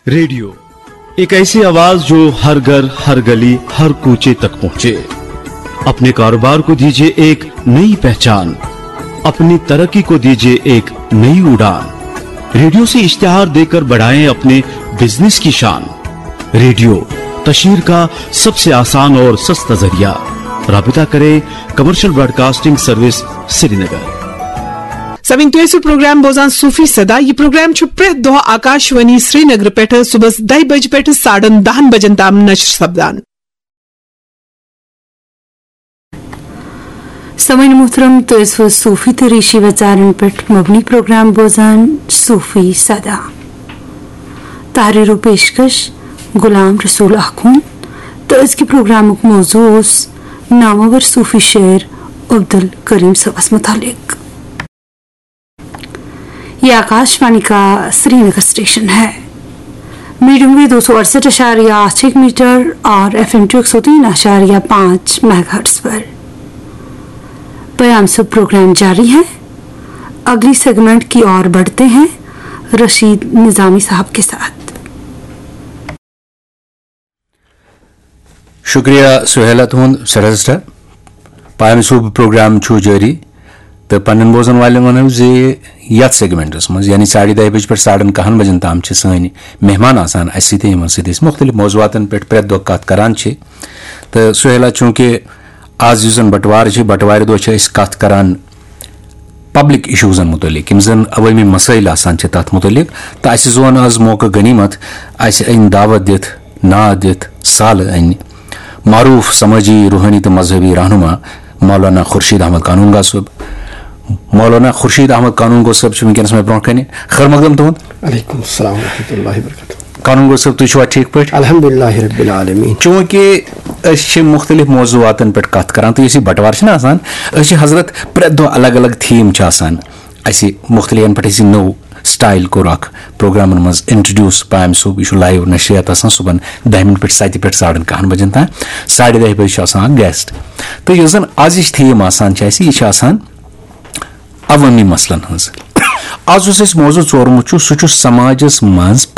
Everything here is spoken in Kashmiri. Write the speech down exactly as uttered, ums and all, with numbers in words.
रेडियो, एक ऐसी आवाज जो हर घर, हर गली, हर कूचे तक पहुंचे। अपने कारोबार को दीजिए एक नई पहचान, अपनी तरक्की को दीजिए एक नई उड़ान। रेडियो से इश्तिहार देकर बढ़ाएं अपने बिजनेस की शान। रेडियो, कशीर का सबसे आसान और सस्ता जरिया। राबता करें कमर्शियल ब्रॉडकास्टिंग सर्विस श्रीनगर। سَمِن تُہۍ ٲسِو پروگرام بوزان صوفی صدا۔ یہِ پروگرام چھُ پرٛٮ۪تھ دۄہ آکاشوانی سرینگر پٮ۪ٹھٕ صُبحس دَہہِ بجہِ پٮ۪ٹھٕ ساڑن دَہن بجن تام نشر سپدان۔ سامعین محترم، تُہۍ ٲسِو صوفی تہٕ ریشی وژارن پٮ۪ٹھ مبنی پروگرام بوزان صوفی صدا۔ تحریر و پیشکش غلام رسول آخوند تہٕ أزکہِ پروگرامُک موضوع اوس نامور صوفی شٲعر عبدالکریم صٲبس متعلق۔ یہ آکاشوانی کا سری نگر اسٹیشن ہے۔ میڈیم ویو دو سو اڑسٹھ اشاریہ آٹھ ایک میٹر اور ایف ایم ٹو ایک سو تین اشاریہ پانچ میگا ہرٹز پر۔ پیام سے پروگرام جاری ہے۔ اگلی سیگمنٹ کی اور بڑھتے ہیں رشید نظامی صاحب کے ساتھ۔ شکریہ سہیلا تُہُنٛد سٮ۪ٹھاہ سٮ۪ٹھاہ۔ پامہِ صوبہٕ پروگرام چھُ جٲری تہٕ پننٮ۪ن بوزن والٮ۪ن ونو زِ یتھ سیگمنٹس منٛز، یعنی ساڑِ دَہہِ بجہِ پٮ۪ٹھ ساڑن کاہن بجن تام، چھِ سٲنۍ مہمان آسان اسہِ سۭتۍ، یِمن سۭتۍ أسۍ مختلف موضوعاتن پٮ۪ٹھ پرٛٮ۪تھ دۄہ کتھ کران چھِ۔ تہٕ سہیلا، چوٗنٛکہِ آز یُس زن بٹوار چھِ، بٹوارِ دۄہ چھِ أسۍ کتھ کران پبلک ایشوزن متعلق، یِم زن عوٲمی مسٲیل آسان چھِ تتھ متعلق، تہٕ اسہِ زون آز موقعہٕ غنیمت، اسہِ أنۍ دعوت دِتھ، ناد دِتھ، سالہٕ أنۍ معروف سمٲجی، روحٲنی تہٕ مذہبی رہنما مولانا خورشید احمد قانون گو صٲب۔ مولانا خورشید احمد قانون گو صٲب چھِ وٕنکیٚنس مےٚ برونٛہہ کنہِ۔ خٲر مقدم تُہُنٛد۔ علیکم السلام ورحمۃ اللہ وبرکاتہ۔ قانون گو صٲب، تُہۍ چھِوا ٹھیٖک پٲٹھۍ؟ الحمدللہ رب العالمین۔ چوٗنٛکہِ أسۍ چھِ مُختٔلِف موضوٗعاتن پٮ۪ٹھ کَتھ کران، تہٕ یُس یہِ بٹوار چھُنہ آسان، أسۍ چھِ حضرت پرٛٮ۪تھ دۄہ الگ الگ تھیم چھِ آسان۔ اَسہِ مُختٔلِفن پٮ۪ٹھ اَسہِ نوٚو سٹایل کوٚر اکھ پروگرامن منٛز انٹروڈیوس۔ پامہِ صٲب، یہِ چھُ لایو نشریات آسان صُبحن دَہہِ مِنٹ پٮ۪ٹھ سَتہِ پٮ۪ٹھ ساڑن کاہن بجن تام۔ ساڑِ دَہہِ بجہِ چھُ آسان اکھ گیسٹ۔ تہٕ یۄس زن ازِچ تھیم آسان چھِ اَسہِ، یہِ چھِ آسان عوٲمی مسلن ہٕنٛز۔ از یُس اَسہِ موضوع ژورمُت چھُ، سُہ چھُ سماجس منٛز